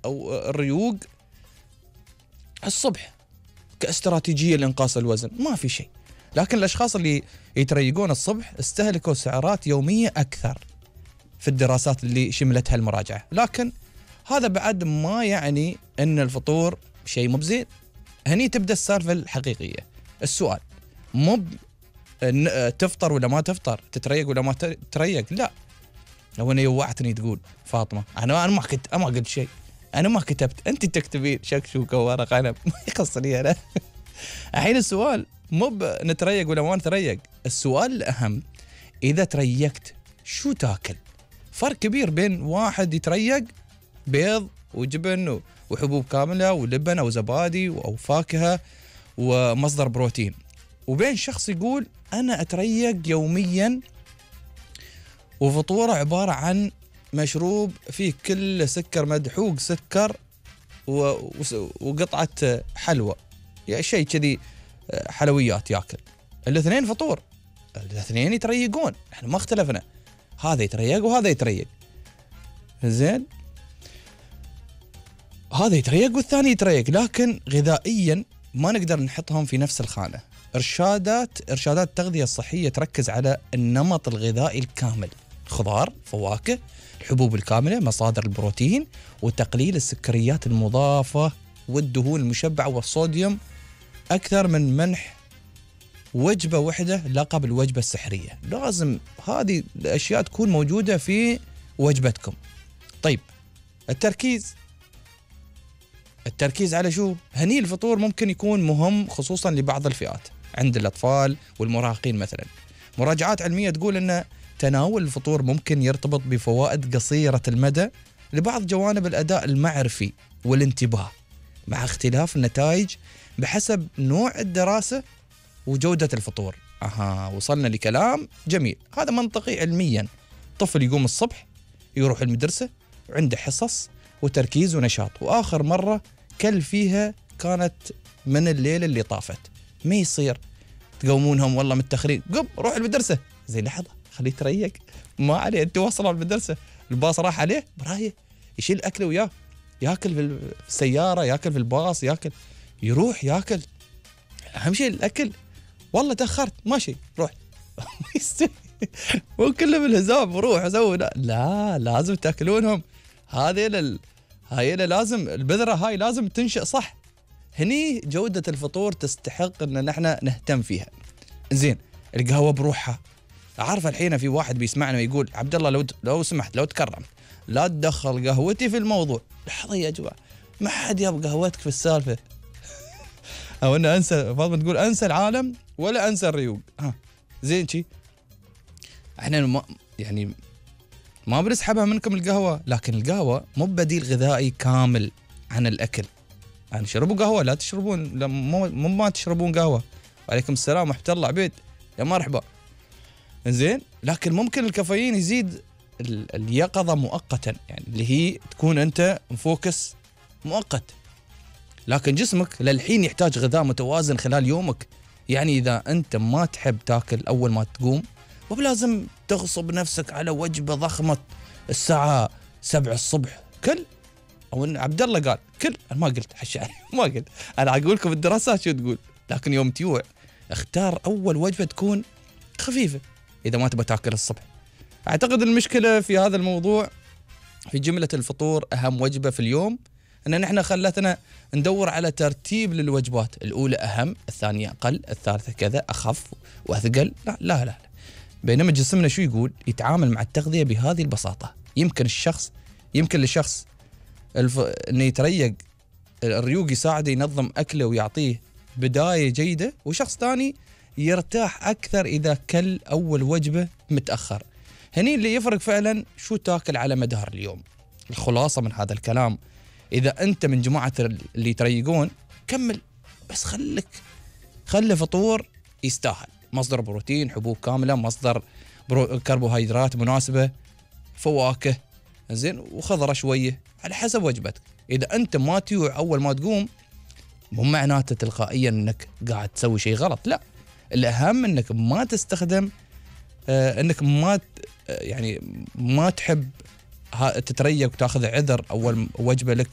أو الريوق الصبح كاستراتيجية لإنقاص الوزن ما في شيء. لكن الأشخاص اللي يتريقون الصبح استهلكوا سعرات يومية أكثر في الدراسات اللي شملتها المراجعة. لكن هذا بعد ما يعني أن الفطور شيء مو بزين. هني تبدأ السالفة الحقيقية. السؤال مو تفطر ولا ما تفطر، تتريق ولا ما تتريق، لا. لو أنا يوعتني تقول فاطمة أنا ما قلت شيء، أنا ما كتبت، أنت تكتبين شكشوكة وورق عنب ما يخصني أنا. الحين السؤال مو نتريق ولا ما نتريق، السؤال الأهم إذا تريقت شو تاكل؟ فرق كبير بين واحد يتريق بيض وجبن وحبوب كاملة ولبن أو زبادي أو فاكهة ومصدر بروتين، وبين شخص يقول أنا أتريق يوميا وفطوره عبارة عن مشروب فيه كل سكر مدحوق سكر وقطعة حلوى، يعني شيء كذي حلويات ياكل. الاثنين فطور، الاثنين يتريقون، احنا ما اختلفنا، هذا يتريق وهذا يتريق، زين، هذا يتريق والثاني يتريق، لكن غذائيا ما نقدر نحطهم في نفس الخانة. إرشادات التغذية الصحية تركز على النمط الغذائي الكامل، خضار، فواكه، الحبوب الكاملة، مصادر البروتين، وتقليل السكريات المضافة والدهون المشبعة والصوديوم، أكثر من منح وجبة واحدة لقب الوجبة السحرية. لازم هذه الأشياء تكون موجودة في وجبتكم. طيب التركيز على شو؟ هني الفطور ممكن يكون مهم خصوصا لبعض الفئات عند الأطفال والمراهقين مثلا. مراجعات علمية تقول أن تناول الفطور ممكن يرتبط بفوائد قصيرة المدى لبعض جوانب الأداء المعرفي والانتباه، مع اختلاف النتائج بحسب نوع الدراسة وجودة الفطور. وصلنا لكلام جميل، هذا منطقي علميا. طفل يقوم الصبح يروح المدرسة وعنده حصص وتركيز ونشاط، وآخر مرة كل فيها كانت من الليلة اللي طافت، ما يصير تقومونهم والله متأخرين، قم روح المدرسة، زي لحظة خليه يتريق، ما عليه، انت وصل المدرسة، الباص راح عليه برايه، يشيل أكله وياه، ياكل في السيارة، ياكل في الباص، يروح ياكل، أهم شيء الأكل. والله تأخرت ماشي روح وكله بالهزاب روح اسوي، لا لازم تاكلونهم، هاي لازم البذرة هاي لازم تنشأ صح. هني جودة الفطور تستحق ان نحن نهتم فيها. زين، القهوة بروحها، عارف الحين في واحد بيسمعنا ويقول عبد الله لو سمحت لو تكرم لا تدخل قهوتي في الموضوع. لحظة يا جماعة، ما حد يبغى قهوتك في السالفة. او انا انسى، فاطمة تقول انسى العالم ولا انسى الريوق. زين شي، احنا ما بنسحبها منكم القهوة، لكن القهوة مو بديل غذائي كامل عن الأكل. يعني شربوا قهوة، لا تشربون، ما تشربون قهوة. وعليكم السلام ورحمة الله عبيد، يا مرحبا. زين، لكن ممكن الكافيين يزيد اليقظة مؤقتا، يعني اللي هي تكون أنت مفوكس مؤقت، لكن جسمك للحين يحتاج غذاء متوازن خلال يومك. يعني إذا أنت ما تحب تاكل أول ما تقوم، وبلازم تغصب نفسك على وجبة ضخمة الساعة 7 الصبح كل، أو إن عبد الله قال كل، أنا ما قلت حشا ما قلت، أنا أقول لكم الدراسات شو تقول. لكن يوم تيوع اختار أول وجبة تكون خفيفة إذا ما تبى تاكل الصبح. أعتقد المشكلة في هذا الموضوع في جملة الفطور أهم وجبة في اليوم، أن نحن خلتنا ندور على ترتيب للوجبات، الأولى أهم، الثانية أقل، الثالثة كذا أخف وأثقل. لا. بينما جسمنا شو يقول؟ يتعامل مع التغذية بهذه البساطة. يمكن للشخص إنه يتريق، الريوق يساعده ينظم أكله ويعطيه بداية جيدة، وشخص ثاني يرتاح أكثر إذا كل أول وجبة متأخر. هني اللي يفرق فعلا شو تاكل على مدار اليوم. الخلاصة من هذا الكلام، إذا أنت من جماعة اللي يتريقون كمل، بس خلي فطور يستاهل، مصدر بروتين، حبوب كاملة، مصدر كربوهيدرات مناسبة، فواكه، زين، وخضرة شوية على حسب وجبتك. إذا أنت ما تيوع أول ما تقوم، مو معناته تلقائيا أنك قاعد تسوي شيء غلط، لا. الأهم أنك ما تستخدم أنك ما تحب تتريق وتاخذ عذر أول وجبة لك